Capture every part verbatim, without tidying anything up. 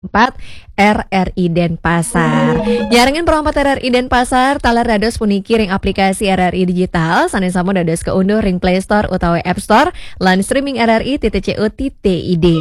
empat R R I Denpasar. Nyarengin Pro empat R R I Denpasar, taler dados puniki ring aplikasi R R I Digital, sané sampun dados kaunduh ring Play Store utawi App Store, lan streaming R R I titik C O titik I D.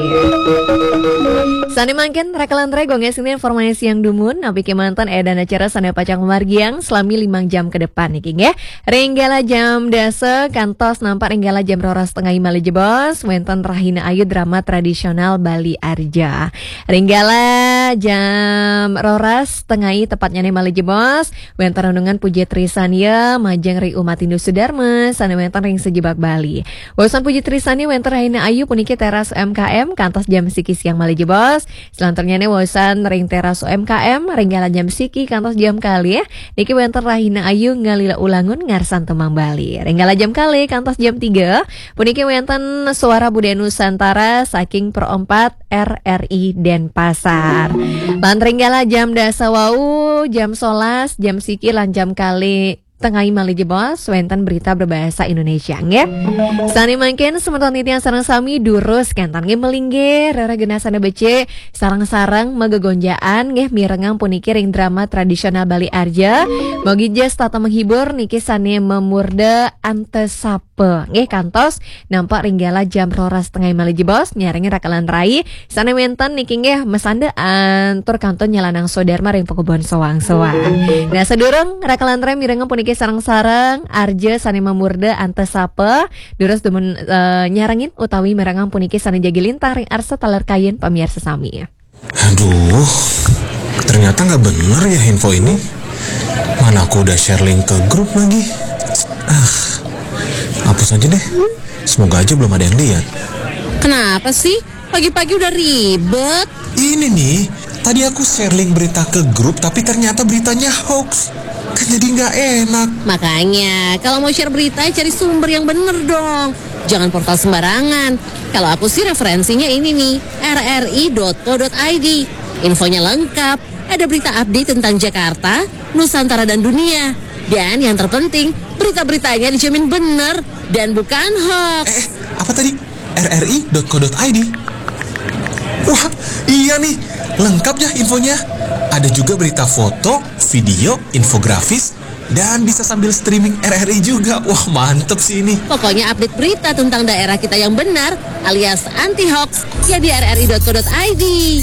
Sané mangkin, raka lan rai, gongé sini informasi yang dumun, napi kémanten édan acara sané pacang margiang selami limang jam ke depan niki, nggih. Ring galah jam dasa kantos nampak ring galah jam roras tengai malih jebos, wénten Rahina Ayu, drama tradisional Bali Arja. Ring galah jam roras tengai tepatnyané malih jebos, wénten renungan Puja Trisania majeng ring Umat Hindu Sudarma sané wénten ring sajebag Bali. Wawasan Puja Trisania wénten Rahina Ayu puniki teras U M K M kantos jam siki siang malih jebos. Selanturnyané wawasan ring teras U M K M ring galah jam siki kantos jam kalih. Niki wénten Rahina Ayu ngalila ulangun ngarsan tembang Bali. Ring galah jam kalih kantos jam tiga, puniki wénten Suara Budaya Nusantara saking Pro empat R R I Denpasar. Lan ring galah jam dasa wau, jam solas, jam siki lan jam kalih tengai malih jebos, wénten berita berbahasa Indonesia, nggih. Sané mangkin semeton titiang sareng sami durus kénten nggih, melinggih rereh genah sané becik, sareng-sareng magegonjaan nggih mirengang puniki ring drama tradisional Bali Arja. Mogi ja setata menghibur niki sané mamurda antesapa nggih, kantos nampak ring galah jam roras tengai malih jebos, nyarengin raka lan rai sané wénten niki nggih masandaan tur kantun nyelanang swadarma ring pakubon soang-soang. Nah, sadurung raka lan rai mirengang puniki sareng-sareng, Arja sané mamurda antesapa, durus dumun, eh, nyarengin utawi mirengang puniki sané jagi lintang ring arsa taler kayun pamiarsa sami. Aduh, ternyata nggak bener ya info ini. Mana aku udah share link ke grup lagi. Ah, hapus aja deh. Semoga aja belum ada yang lihat. Kenapa sih? Pagi-pagi udah ribet. Ini nih, tadi aku share link berita ke grup, tapi ternyata beritanya hoax. Kan jadi nggak enak. Makanya, kalau mau share berita, cari sumber yang bener dong. Jangan portal sembarangan. Kalau aku sih referensinya ini nih, R R I dot co dot I D. Infonya lengkap, ada berita update tentang Jakarta, Nusantara dan dunia. Dan yang terpenting, berita-beritanya dijamin bener dan bukan hoax. Eh, apa tadi? R R I dot co dot I D. Wah, iya nih, lengkap ya infonya. Ada juga berita foto, video, infografis, dan bisa sambil streaming R R I juga. Wah, mantep sih ini. Pokoknya update berita tentang daerah kita yang benar alias anti hoax ya di R R I dot co dot I D.